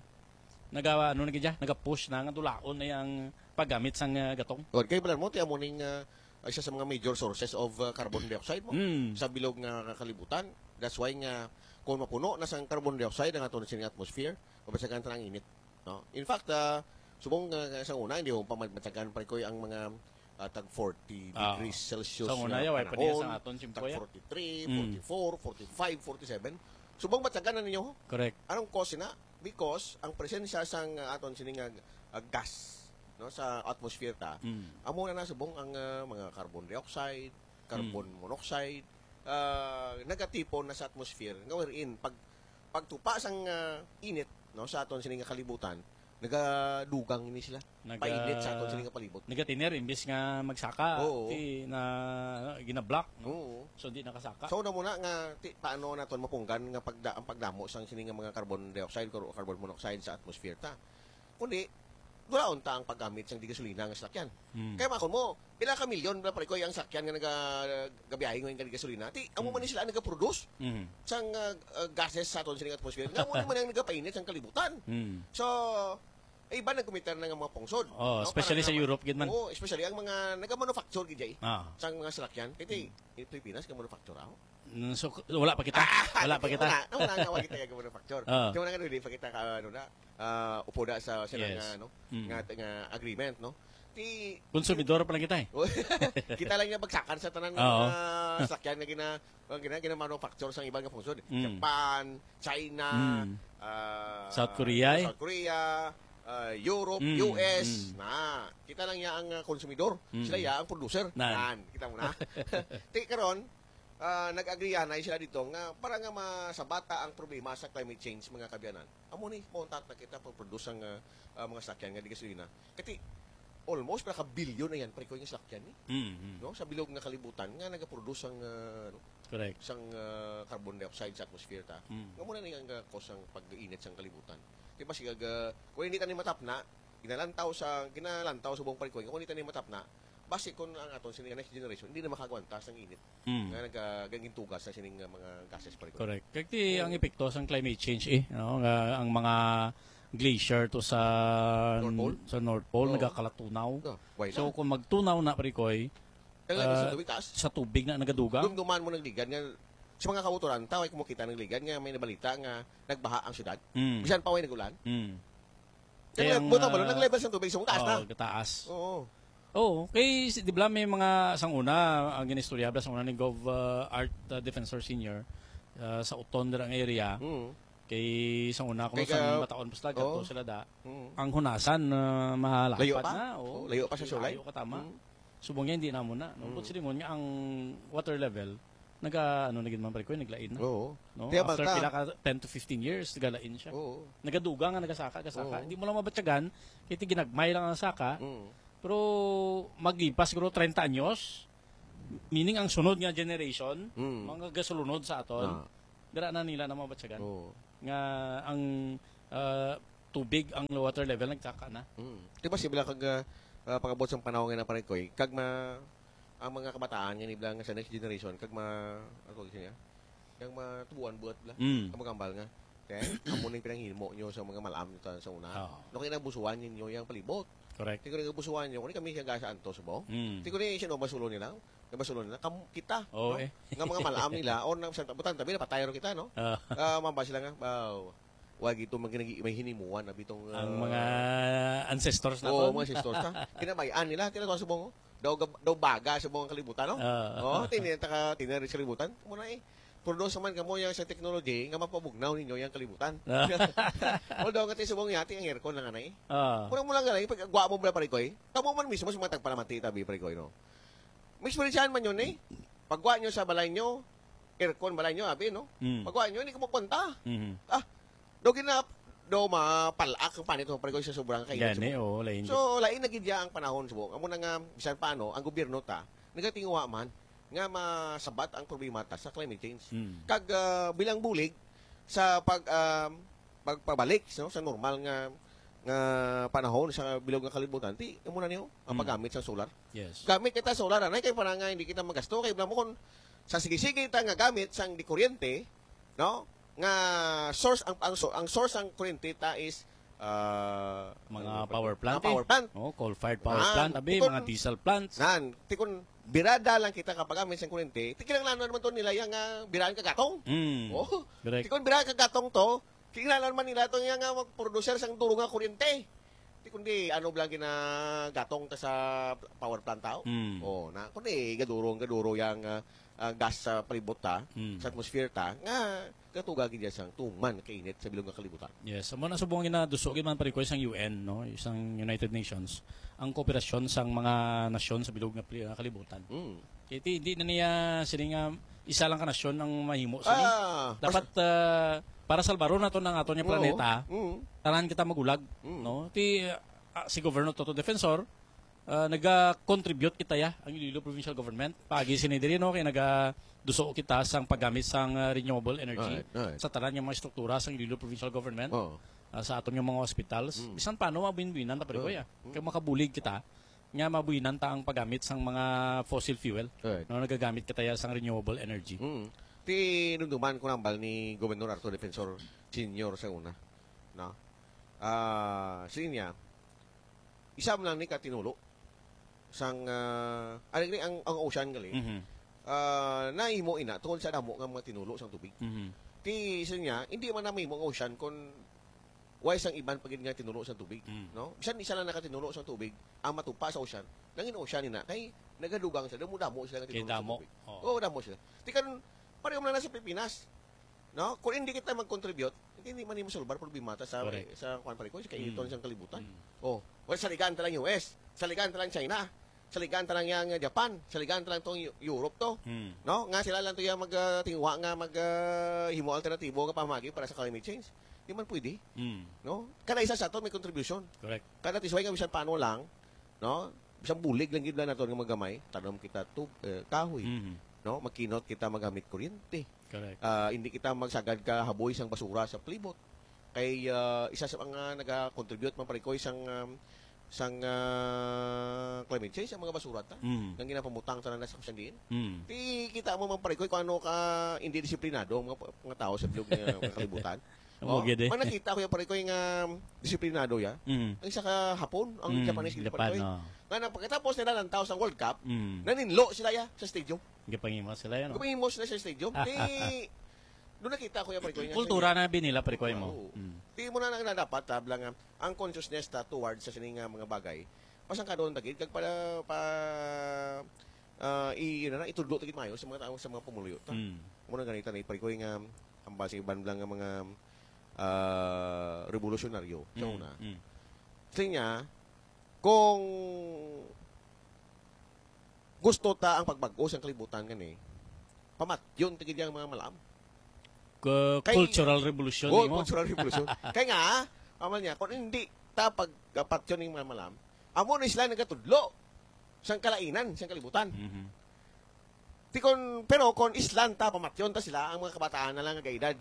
naga, ano na gid ya, naga-push na nga dulaon na yang paggamit sang, ah, gatong. Good. Kay balan mo, ti amo ning, ah, isa sa mga major sources of, ah, carbon dioxide mo Mm. sa bilog nga kalibutan. That's why nga kung mapuno na sang carbon dioxide ang aton sining atmosphere, mabasagan ta ang init, no? In fact, ah, subong nga sa una, hindi mo pa mabasagan, pare ko, ang mga, ah, tag forty Ah. degrees Celsius Sa una, nga ya, way pa niya panahon, sa aton, tag simple, ya. forty-three, Mm. forty-four, forty-five, forty-seven. Subong basagan na ninyo. Correct. Anong cause na? Because ang presensya sang, ah, aton sini nga, ah, gas, no, sa atmosphere ta, Mm. amo na nasubong ang, ah, mga carbon dioxide, carbon Mm. monoxide, ah, nagatipon na sa atmosphere nga wherein pag, pagtupa sang, ah, init, no, sa aton sini nga kalibutan, nagadugang ini sila. Naga-, Painit sa aton sini nga palibot. Nagatiner imbis nga magsaka, Oo. ti na, gina-block, no? Oo. So, di nakasaka. So, una muna nga, ti, paano naton mapunggan nga pagda-, ang pagdamo sang sini nga mga carbon dioxide, kar-, carbon monoxide sa atmosphere ta? Kundi, dulaon ta ang paggamit sang di gasolina nga salakyan. Hmm. Kaya makon mo, pila ka milyon, pila, pare ko, ang salakyan nga naga-, gabiyahe ngayon ka di gasolina? Ti, amo Hmm. man ni sila nagaproduce Hmm. sang, ah, ah, gases sa aton sini nga atmosphere. Nga amo ni man ang nagapainit sang kalibutan. Hmm. So, eh, iba nagkumitar na nga mga pungsod, Oh, no? especially Para sa nga Europe, gid man. Oo, especially ang mga nagamanufacture, gid, jay, Ah. sang mga salakyan. Kaya ti, Hmm. in Pilipinas, ka manufacture ako. Mm, so, wala pa kita. Ah, Wala pa hindi, kita. Wala, wala nga, wala kita yung manufacture. Ah. Kaya wala nga, hindi pa kita ka, ano na, ah, upo na sa sila Yes. nga, ano, Mm. nga, nga agreement, no? Ti Konsumidor pa lang kita eh. Kita lang nga bagsakan sa tanan nga Oo. mga salakyan nga gina-, nga gina-, gina-manufacture sa iba nga pungsod. Mm. Japan, China, Mm. ah, South Korea, eh. South Korea, ah, Europe, Mm, U S, mm. na. Kita lang ya ang, ah, konsumidor. Mm. Sila ya ang producer. Nan. Nan, kita mo na. Ti karon, ah, nag-agrihan na sila dito nga para nga masabata ang problema sa climate change, mga kaabyanan. Amo ni, mauntat na kita pag-produce ang, ah, ah, mga salakyan nga di gasolina. Kati, almost pila ka bilyon na yan, pare ko, yung salakyan ni. Mm, mm. No? Sa bilog nga kalibutan nga nagaproduce ang, ah, ano, Correct. sang, ah, carbon dioxide sa atmosphere ta. Mm. Nga muna ni ang, ah, cause ang pag-init sang kalibutan. Di ba, sige, ah, kung hindi tayo matapna, ginalantaw sa, ginalantaw sa buong pare ko, kung hindi tayo matapna, basi kung ang aton sini nga next generation, hindi na makagwanta sa init Mm. nga nagagintugas sa sining, ah, mga gases, pare ko. Correct. Kaya ti, Oo. ang epekto sang climate change, eh, no? Nga ang mga glacier to sa North Pole? sa North Pole, Oo. nagakalaton na. Oh, why So, not? kung magtunaw na, pare ko, eh, Ang lalim sa ah, tubig, taas. sa tubig na nagadugang. Dumduman mo nagligad nga, sa mga kauturan, tawag mo kita nagligad nga may nabalita nga nagbaha ang syudad. Mm. Bisan pa way nag-ulan. Mm. Kaya Kaya ang, buta ba, ah, nag-level sa tubig, so, taas na. Oo, taas. Oo. Oo, kay si, di ba may mga sang una, ang ginistorya ba sang una ni Gov, ah, Art, ah, Defensor Senior, ah, sa Uton dira nga area. Mm. Kay sang una, kung Kay sang ka-, Bataon pa sila, oo. Gato sila da. Mm. Ang hunasan, ah, mahalapad Layo pa? na, oo. Oo, layo pa sa Sulay? Layo ka, tama. Mm. Subong niya, hindi na mo na, no? Mm. But silingon nga ang water level, naga, ano na gid man, pare ko, naglain na. Oo. No? Kaya After baka pila ka, ten to fifteen years, nagalain siya. Oo. Nagadugang nga, nagasaka, gasaka. Oo. Hindi mo lang mabatyagan, kaya ginagmay lang ang saka. Mm. Pero maglipas siguro treinta anyos, meaning ang sunod nga generation, Mm. mga gasulunod sa aton, Ah. dira na nila na mabatyagan. Oo. Nga ang, ah, tubig, ang water level, nagsaka na. Mm. Di ba, sila kag, ah, ah, pag-abot sa panahon nga na, pare ko, eh, kag ma-, ang mga kabataan nga nibla nga sa next generation, kag ma-, ano tawag siya? Kag matubuan buhat bla. Mm. Ang magambal nga. Kaya, amo ning pinanghimo nyo sa mga malam nyo ta-, sa una. Oo. No, kaya nabusuan ninyo yung palibot. Correct. Kaya kung nabusuan nyo, kung kami siya gasa antos mo, Mm. kaya kung siya no, masulo nila, nga masulo nila, kam-, kita, Oo, no? eh. Nga mga malam nila, o nang sa butan, tabi, napatay ro kita, no? Ah. Ah, mamba sila nga, wow. Wag ito mag-, may hinimuan na bitong, Ang ah, mga ancestors Oo, naton. mga ancestors ta. Kinabayaan nila, tila ko subong, oh. Daw gab-, daw baga sa mga kalibutan, no? Ah. Oh, tini-, taka-, tinari sa kalibutan. Muna eh. Pero daw sa man kamo yang sa technology nga mapabugnaw ninyo yang kalibutan. Ah. Although nga ti subong yati ang aircon na nga na eh. Ah. Muna mo lang galay, pag gwa mo bala, pare ko, eh. Kamo man mismo sa mga tagpalamati, tabi, pare ko, eh, no? May eksperyensyahan man yun, eh. Pagwa nyo sa balay nyo, aircon balay nyo, abi, no? Mm. Pagwa nyo, hindi ko magpunta. Mhm. Ah, daw gina-, daw mapalak ang panit mo, pare ko, sa sobrang kainit. Gani, oo, lain So, lain na gid ya ang panahon, subong. Amo na nga, bisan paano, ang gobyerno ta, nagatinguha man nga masabat ang problema ta sa climate change. Mm. Kag, ah, bilang bulig sa pag, ah, pagpabalik, no, sa normal nga, nga panahon sa bilog nga kalibutan, ti, amo na niyo, ang Mm. paggamit sa solar. Yes. Gamit kita solar, anay, kay para nga hindi kita magasto, kay mo kung sa sige-sige ta nga gamit sang di kuryente, no? Nga source ang, ang so-, ang source ang kuryente ta is, ah, Mga ano ba power to? plant, Mga power eh. plant. Oh, coal-fired power Nan, plant, abi, ikon mga diesel plants. Nan, tikon birada lang kita kapagamit sang kuryente, ti kinahanglan naman to nila yang, ah, biraan ka gatong. Mm. Oh. Correct. Tikon biraan ka gatong to, kinahanglan man nila to yang, ah, mag-producer sang duro nga kuryente. Ti kundi ano bala ginagatong ta sa power plant tao? Mm. Oh, na kundi gaduro, gaduro yang, ah, ah, gas sa palibot ta, Mm. sa atmosphere ta, nga gatuga gid sang tuman kainit sa bilog nga kalibutan. Yes, amo na subong ginaduso gid man, pare ko, sang U N, no, sang United Nations, ang kooperasyon sang mga nasyon sa bilog nga pli-, nga kalibutan. Mm. Kay ti, hindi na niya sini nga isa lang ka nasyon ang mahimo sini. Ah, Dapat, ah, para salbaron naton ang aton nga Oo. planeta, Mm. tanan kita magulag, Mm. no? Ti, ah, si Governor Toto Defensor, ah, naga-contribute kita ya, ang Iloilo Provincial Government. Paagi sini diri, no, kay nagaduso kita sang paggamit sang, ah, renewable energy Right, right. sa tanan nga mga estruktura sang Iloilo Provincial Government, Oo. ah, sa aton nga mga hospitals. Mm. Bisan paano, mabuin-buinan ta, pare ko, Oo. ya. Mm. Kay makabulig kita nga mabuinan ta ang paggamit sang mga fossil fuel. Right. No, nagagamit kita ya sang renewable energy. Mm. Ti, dumduman ko nambal ni Gobernador Arthur Defensor Senior sa una, no? Ah, siling niya, isa man lang ni ka tinulo sang, ah, ano ni ang, ang ocean gali. Mhm. Ah, nahimo ina tungod sa damo nga mga tinulo sang tubig. Mhm. Ti, siling niya, hindi man na mahimo ang ocean kung way sang iban pa gid nga tinulo sa tubig, Mm. no? Bisan isa lang nakatinulo sa tubig, ang matupa sa ocean, nangin ocean ina, kay nagadugang sila, damo-damo sila nga Kay tinulo sa damo. tubig. Oo. Oo, damo sila. Ti karon, pareho man na sa Pilipinas, no? Kung hindi kita mag-contribute, hindi man mo solbar problema ta sa, Correct. sa, kuwan, pare ko, sa kainiton Mm. sang kalibutan. Mm. Oh, well, saligan ta lang U S, saligan ta lang China, saligan ta lang yang Japan, saligan ta lang tong Eu-, Europe to. Mm. No? Nga sila lang to yung mag, ah, tingwa nga mag, ah, himo alternatibo nga pamagi para sa climate change. Di man pwede. Mm. No? Kada isa sa ato may contribution. Correct. Kada tisway nga bisan paano lang, no? Bisan bulig lang gid lang naton nga magamay, tanom kita tub-, eh, kahoy, Mhm. no? Magkinot kita magamit kuryente. Correct. Ah, hindi kita magsagad ka haboy sang basura sa palibot. Kay, ah, isa sa mga naga-contribute man, pare ko, sang, um, sang, ah, climate change, ang mga basura ta. Mm. Nga ginapamutang tanan na sa kusandiin. Mm. Ti kita mo man, pare ko, kung ano ka hindi disiplinado ang mga, mga tao sa bilog nga, nga kalibutan. Amo Oh, gid eh. man nakita ko yung, pare ko, yung, um, disiplinado ya. Mm. Ang isa ka Hapon, ang Mm, Japanese, Japan, pare ko, eh. oh. Nga nang pagkatapos nila ng tao sa World Cup, Mm. naninlo sila ya sa stadium. Gipangimo sila yan, no? Gipangimo sila sa stadium. Di, doon nakita ko yung, pare ko, yung Kultura sa na binila, pare ko, mo. Oo. Mm. Di mo na, na, na dapat, tabla nga, ang consciousness ta towards sa sining nga mga bagay, pasang ka doon tagid, kag pala, pa, ah, i-, yun na, itudlo tagid mayo sa mga tao, sa mga pumuluyo ta. Mm. Muna ganita na, pare ko, yung, um, ang base iban lang nga mga, ah, revolusyonaryo sa Mm, una. mm. Sa niya, kung gusto ta ang pagbag-o sang kalibutan gani, pamatyon ta gid ang mga malam. Ku-, Kay cultural revolution Oh, nimo. Cultural revolution. Kay nga, amal niya, kung hindi ta pagpatyon ning mga malam, amo na sila nagatudlo sang kalainan, sang kalibutan. Mhm. Ti kon, pero kon islan ta, pamatyon ta sila, ang mga kabataan na lang nga edad,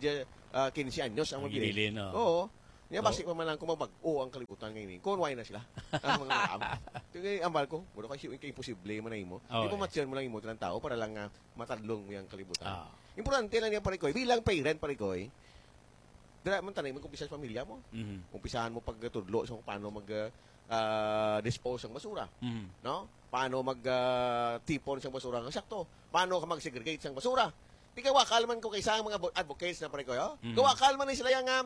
ah, quince anyos ang mabilin. Mabilin, oo. Oo. Niya, Oo. basi pa man lang kung mabag-o ang kalibutan ngayon, eh. Kung why na sila? Ang mga malam. Ti, ambal ko, mura kasi yung imposible man na imo. Oo, Di eh. pamatyon mo lang imo, ng tao, para lang nga matadlong mo yung kalibutan. Ah. Importante lang niya, pare ko, eh. Bilang parent, pare ko, eh. Dira man tanay, mag-umpisa sa pamilya mo. Mhm. Umpisahan mo pagtudlo sa kung paano mag, ah, ah, dispose ang basura. Mhm. No? Paano mag, ah, tipon sang basura nga sakto? Paano ka mag-segregate sang basura? Di ka wakal man ko kaysa ang mga bo-, advocates na pare ko, yo? Mhm. Kawakal man ni sila yang, ah,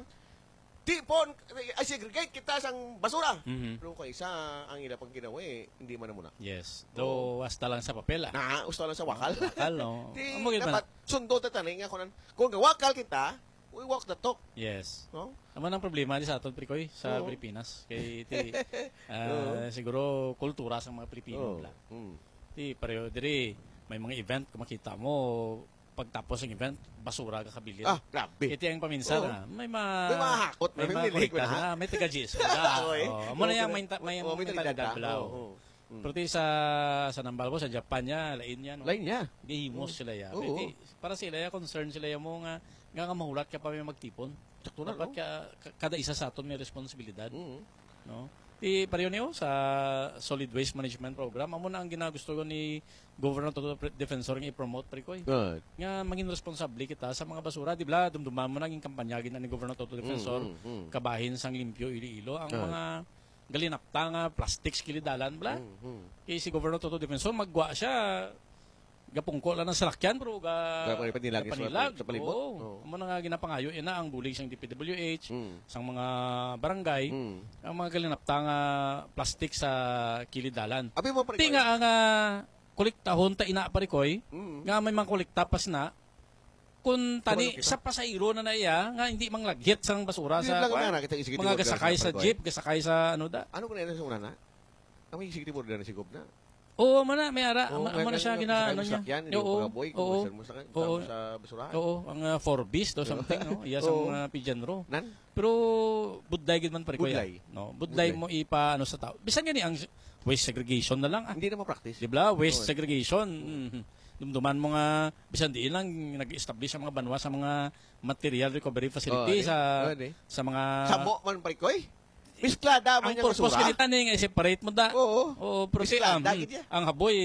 tipon, ay, segregate kita sang basura. Mhm. Pero kaysa ang ila pang ginawa, eh, hindi man na muna. Yes. Oo. Though, hasta lang sa papel, ah. Na, hasta lang sa wakal. Wakal, no? Di, Amo gid man dapat na. sundo ta tanay nga kunan. Kung gawakal kita, we walk the talk. Yes. No? Amo nang problema di sa aton, Prikoy, sa Oo. Pilipinas. Kay ti, ah, Oo. siguro kultura sa mga Pilipino Oo. bla. Mm. Ti pareho diri, may mga event, kung makita mo, pagtapos ng event, basura ka kabilin. Ah, grabe. Iti ang paminsan, Oo. ah. May ma-, May mahakot, may may mga mamilig kolekta na. na, may taga-G S O na. Oy. Oh, amo na Oo, yan, may ta-, may, Oo, may may talidad talidad na. bla, Oo, oh. oo. Mm. Pero ti sa, sa nambal mo, sa Japan niya, lain niya, no? Lain niya. Gihimos Mm. sila ya. Oo. Pero ti, para sila ya, concern sila ya mo nga, nga, nga mahulat ka pa may magtipon. Sakto na, Dapat no? ka, ka-, kada isa sa aton may responsibilidad. Mm. No? Ti, pareho niyo sa solid waste management program, amo na ang ginagusto ko ni Governor Toto Pre-, Defensor nga i-promote, Prikoy. Good. Nga maging responsable kita sa mga basura, di bla? Dumduman mo na ang kampanya gina ni Governor Toto Defensor, Mm, mm, mm. kabahin sang limpyo Iloilo. Ang Good. mga galinapta nga plastics kilid dalan, bla? Mm, mm. Kay si Governor Toto Defensor, magwa siya, gapungko lang ng salakyan, pero ga-, Ga-, panilag sa, gapanilag. sa palibot. Oo. Oo. Amo na nga ginapangayo, ina ang bulig sang D P W H, Mm. sang mga barangay, Mm. ang mga galinapta nga plastic sa kilid dalan. Abi mo, pare Ti Koy? nga ang, ah, kolektahon ta ina, pare Koy, Mm. nga may mga kolekta pa sina, kung tani Kabalo kita. sa pasahero na na iya, nga hindi manglagit sang basura Di sa, lang kuwan, nga na kita executive mga order gasakay sa sa pagkaway. jeep, gasakay sa ano da. Ano ko na yun sa una na? Ang executive order na si Gob na. Oo, man na, may ara, Oo, amo, may amo na siya mga gina-, kasakay ano mo niya. sakyan, yung Oo, mga boy, kung oo. kasal mo sa, Oo. sa basurahan. Oo, ang, ah, four Bs do Oo. something, no? Iya sa Oo. mga pigeon row. Nan? Pero budlay gid man, pare, kuya. Budlay. No, budlay Budlay. mo ipa, ano, sa tao. Bisan gani ang waste segregation na lang, ah. Hindi na ma-practice. Di ba? Waste Oo. segregation. Mm. Dumduman mo nga, bisan diin lang, nag-establish ang mga banwa sa mga material recovery facility Oo, di. sa, Oo, di. sa mga Samo man, pare, koy. Misklada man Ang yung purpose basura. kanita ni nga i-separate mo da. Oo. Oo, pero si, Misklada, um, gid yan. ang haboy,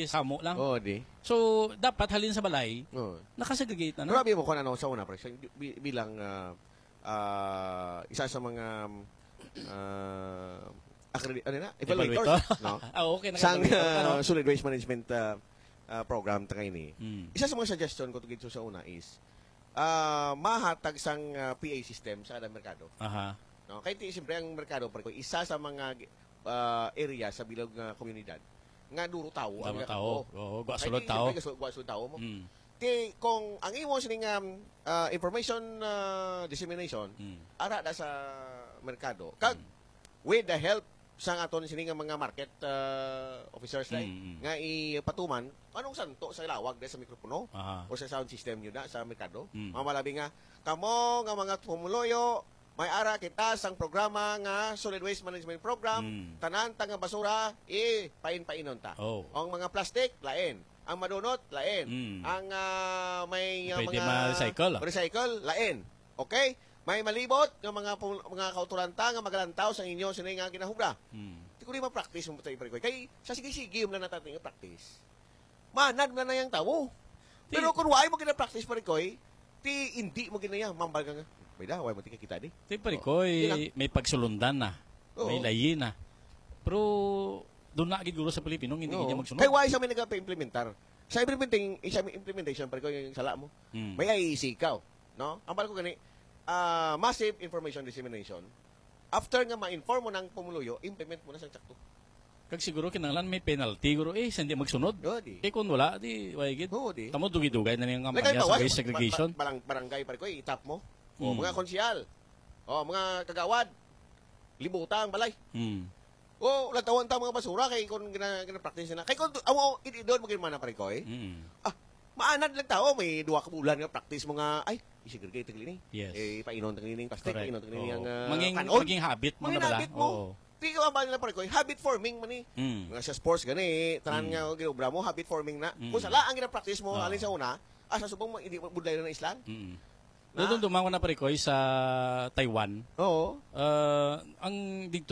samo lang. Oo, di. So, dapat halin sa balay, Oo. nakasegregate na, no? Grabe mo kung ano sa una, pare, sa, bi-, bilang, ah, ah, isa sa mga, ah, accredi-, ano na? Evaluator, Evaluator? no? Ah, okay, Sang, naka-evaluator ka, no? ah, solid waste management, ah, ah, program ta kaini. Mm. Isa sa mga suggestion ko tungod sa una is, ah, mahatag sang, ah, P A system sa kada merkado. Aha. No? Kay ti-, siyempre ang merkado, pare, isa sa mga, ah, area sa bilog nga komunidad nga duro tawo ang Duro tawo. nakatuo. Oo, gwa Kay sulod ti, tawo. siyempre, gwa sulod tawo mo. Mm. Ti, kung ang imo sining, um, ah, information, ah, dissemination, Mm. ara na sa merkado. Kag Mm. with the help sa aton sini nga mga market, ah, officers na, Mm, mm. nga ipatuman, anong santo sa lawag na sa mikropono Aha. o sa sound system nyo na sa merkado? Mm. Mga malabi nga, kamo nga mga pumuluyo, may ara kita sang programa nga Solid Waste Management Program, Mm. tanan ta nga basura, ipain-painon ta. Oh. Ang mga plastic, lain. Ang madunot, lain. Mm. Ang, ah, may, ah, Pwede mga ma-recycle, ah. recycle, lain. Okay? May malibot nga mga pul-, mga kauturan ta nga magalantaw sa inyo sini nga ginahubra. Mm. Ti ko di ma-practice mo tayo, pare Koy. Kay sa sige-sige mo na natatay nga practice. Manad na na yung tawo. Ti- Pero kung wala mo gina-practice, pare Koy, ti hindi mo ginaya, mambal ka nga. May da, wala mo ti kakita di. Ti, pare Oh. Koy, Di lang. may pagsulundan na. Oo. May layi na. Pero doon na gid guro sa Pilipino, hindi Oo. gid magsunod. Kay why sa may nagpa-implementar? Sa implementing, sa implementation, pare Koy, yung sala mo. Hmm. May I E C ikaw, no? Ang pare ko gani, ah, massive information dissemination. After nga ma-inform mo ng pumuluyo, implement mo na sa sakto. Kag siguro kinahanglan may penalty, guro, eh, sa hindi magsunod. Oo, di. Kay kung wala, di, wala gid. Oo, di. Tamo, dugay-dugay na niyang Like, kampanya sa halimbawa, waste segregation. ba-, ba-, barang-, barangay, pare Koy, itap mo. O, Hmm. mga konsehal. O, mga kagawad. Libuta ang balay. Hmm. O, lantawan ta mga basura kay kung gina-, gina-practice na. Kay kung amo, ididon mo gid man na, pare ko, eh. Mm. Ah, maanad lang tao, may duha ka bulan nga practice mo nga, ay, isigurgay tagli ni. Yes. Eh, painon tagli ning plastic, Correct. Painon tagli Oo. ang uh, Maging, kanon. Maging habit mo Maging na bala. Habit mo. Oo. Di ka ba nila, pare ko, eh, habit forming man eh. Mm. Nga sa sports gani, tanan Mm. nga ginobra mo, habit forming na. Mm. Kung sala ang gina-practice mo, Oo. Alin sa una, ah, sa subong mo, hindi mo budlay na islan. Mm. Na? Doon dumangon na, pare ko, sa Taiwan. Oo. Ah, ang dito